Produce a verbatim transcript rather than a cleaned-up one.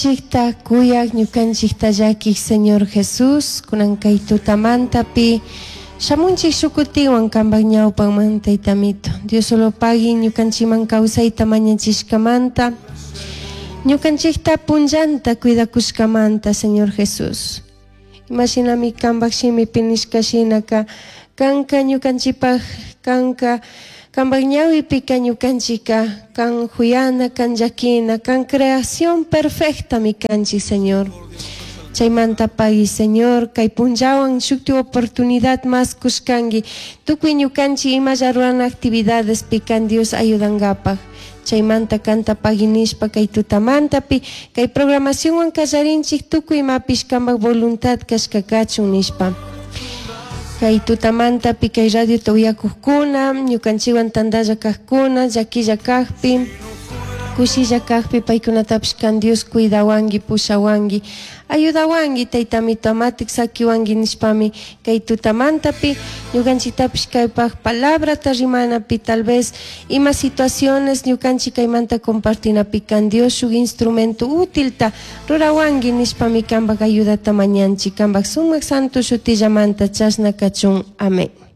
Ñukanchikta kuyaq, ñukanchikta llakiq Señor Jesús, kunan kay tutamantapi shamunchik shukutiwan kanpak ñawpanman Taytamito. Dios solo pagui ñukanchikman kawsayta mañachishkamanta, ñukanchikta punllanta cuidakushkamanta, Señor Jesús. Imashinami kanpak shimipi nishka shinaka kanka ñukanchikpak kanka kanpak ñawipika ñukanchika kan juyana, kan llakina, kan creación perfectami kanchik, Señor. Chaymanta pagui, Señor, kay punllawan shukti oportunidad más kushkanki tukuy ñukanchik imalla rurana actividades kan Dios ayudangapak. Chaymanta kanta pagui nishpa kay tutamantapi kay programacionwan kallarinchik tukuy imapish kanpak voluntad kashka kachun nishpa. Kay tutamantapi kay radiota uyakuqkuna, ñukanchikwan tantalla kaqkuna, llakilla kakpi, kushilla kakpi paykunatapish kan Dios cuidawanki, pushawanki, ayudawanki, Taytamito amatik sakiwanki nishpami kay tutamantapi ñukanchiktapish kaypak palabrata rimanapi tal vez ima situaciones ñukanchik kaymanta compartinapi kan Dios shuk instrumento útilta rurawanki nishpami kanpak ayudata mañanchik kanpak sumak santo shutillamanta chashna kachun. Amén.